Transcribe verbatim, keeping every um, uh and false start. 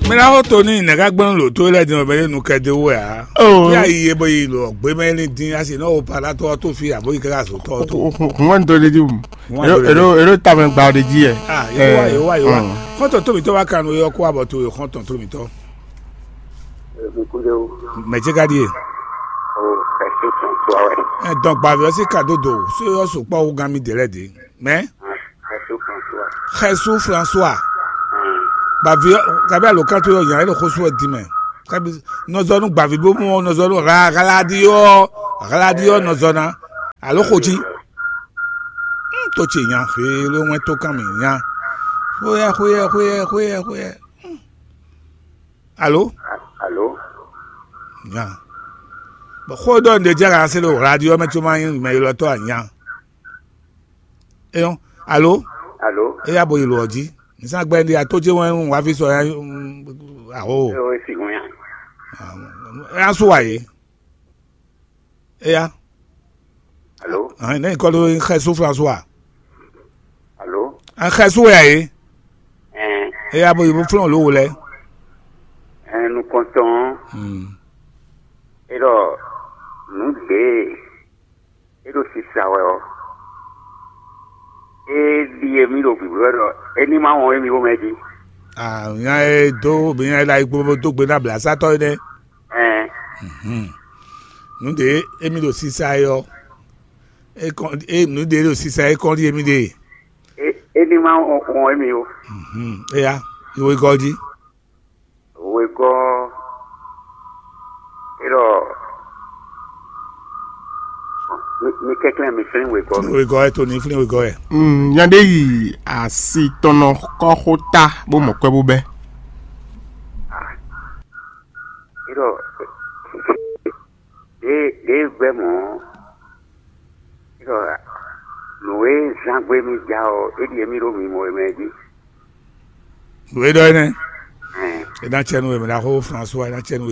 Mɛ ná xɔ to ní nɛ̌ ká gbɛ́nú ɖo tó lɛ́ɛ din ɔ́, mɛ ní nu kɛ dó wɛ ǎ. Oh. Fí ayi e bɔ yi lɔ gbé mɛ ní dín asi nɔ wo pa ná tɔ́ tó fí abo yi ká zo tɔ́ tó. Hun wɛ ní tó ɖe jí mu. Ero ero ero tamɛ gba ɖe jí yɛ. Ah, yewa yewa yewa. Xɔntɔn tó mi tɔ wá kanu yɔ kó abɔ tó yɔ xɔntɔn tó mi tɔ. Mɛ jẹ ka ɖie. Ɛ dɔn gbavi ɔ́ sí ka dó do so yɔ so kpɔ wú gán mi dě lɛ dě. Mɛ. Xɛsu François. Bàbí kabi alo kan tó yɔ nya ele xó sú wɛ di mɛ. Kabi nɔzɔnu gbavi bó mɔ nɔzɔnu ɣla ɣla di yɔ ɣla di yɔ nɔzɔna alo xotsi. Tó tse nya xwé ló wɛn tó kan mì nya. Xóyɛ xóyɛ xóyɛ xóyɛ xóyɛ. Alo. Alo. Nya. Bɔ xó dɔ ǹdè jẹ́ ká se lo radio mɛ tó ma nyí mɛ ylɔ́tɔ́ a nya. Eyɔn. Alo. Alo. Eya bo yi lo ɔdzi. Nisa gbɛ ndi ato ce wɛn wá fi sɔ ya. Aho. Eyo esi ŋun ya. Ya su wa ye. Eya. Alo. Ahin ne kɔ do xɛ su François. Alo. An xɛ su ya ye. Ɛn. Eya bo yi bo flɔn lo wo lɛ. Ɛn nukɔntɔn. Hmm. E ɖɔ nǔ ɖě e ɖo sisa wɛ ɔ́, é ɖíe mì ɖo gbǐgbó wɛ ɖɔ é ní má wɔn émí xomɛ jí. Nya e dó nya e ɖo ayikpo dó gbe ná blǎsátɔ́ é nɛ́. Ɛn. Nǔ ɖě émí ɖo sisa é ɔ́, é kɔn é nǔ ɖě ɖo sisa é kɔn ɖíe mì ɖe. É é ní má wɔn émí ó. Éya, yi wegɔ́ jí. Wegɔ́ é ɖɔ mi mi kɛnklɛ́n mi flín wegɔ́ mi. Wegɔ́ ɛ to ní flín wegɔ́ ɛ. Nya ɖé yi asi tɔn nɔ kɔ́ xó ta bó mɔ kwɛ́ bó bɛ́. É ɖɔ ɖě ɖě gbɛ́ mɔ̌. Nǔ e zán gbé mì ja ɔ́, é ɖíe mì ɖo mimɔ e mɛ jí. Nǔ e ɖɔ énɛ́. Ɛn, É ná cɛ nú we, mɛ ɖaxó François, é ná cɛ nú